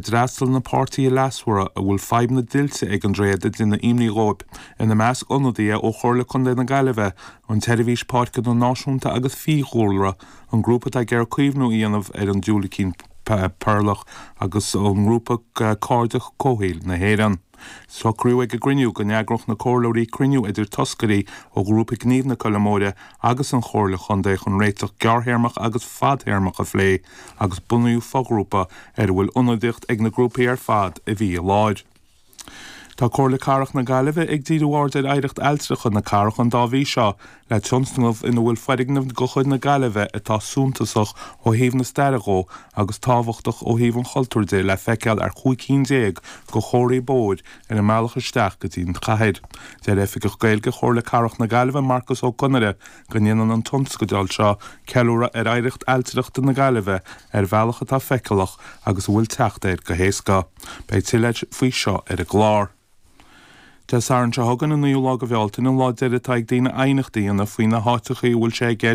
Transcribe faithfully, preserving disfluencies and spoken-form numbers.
D'fhreastail na páirtithe leasmhara a bhfuil fadhb na dtuilte ag an dtréad ag déanamh imní dhóibh, ina measc ionadaithe ó Chomhairle Contae na Gaillimhe, an tSeirbhís Páirceanna Náisiúnta agus Fiadhúlra, an grúpa atá ag iarraidh caomhnú a dhéanamh ar an diúilicín peirleach agus ón ngrúpa Cairde Comhshaoil na hÉireann. Socraíodh ag an gcruinniú go n-eagródh na comhairleoirí cruinniú idir toscairí ó ghrúpa Gnímh na Coille Móire agus an Chomhairle Chontae chun réiteach gearrthéarmach agus fadtéarmach a phlé agus bunaíodh foghrúpa ar a bhfuil ionadaíocht ag na grúpaí ar fad a bhí i láthair. Tá Comhairle Cathrach na Gaillimhe ag díriú aird ar oidhreacht ailtireachta na cathrach an dá mhí seo le tionscnamh ina bhfuil foirgneamh de chuid na Gaillimhe atá suntasach ó thaobh na staire dhó agus tábhachtach ó thaobh an chultúir de le feiceáil ar chúig cinn déag de chomharthaí bóthair ar an mbealach isteach go dtí an chathair. Deir Oifigeach Gaeilge Chomhairle Cathrach na Gaillimhe Marcus Ó Conaire go ndéanann an tionscadal seo ceiliúradh ar oidhreacht ailtireachta na Gaillimhe ar bhealach atá feiceálach agus a bhfuil teacht air go héasca. Beidh tuilleadh faoi seo ar an gclár. Dé Sathairn seo chugainn an naoú lá de Bhealtaine an lá deiridh atá ag daoine aighneacht a dhéanamh faoi na háiteacha a bhfuil sé i gceist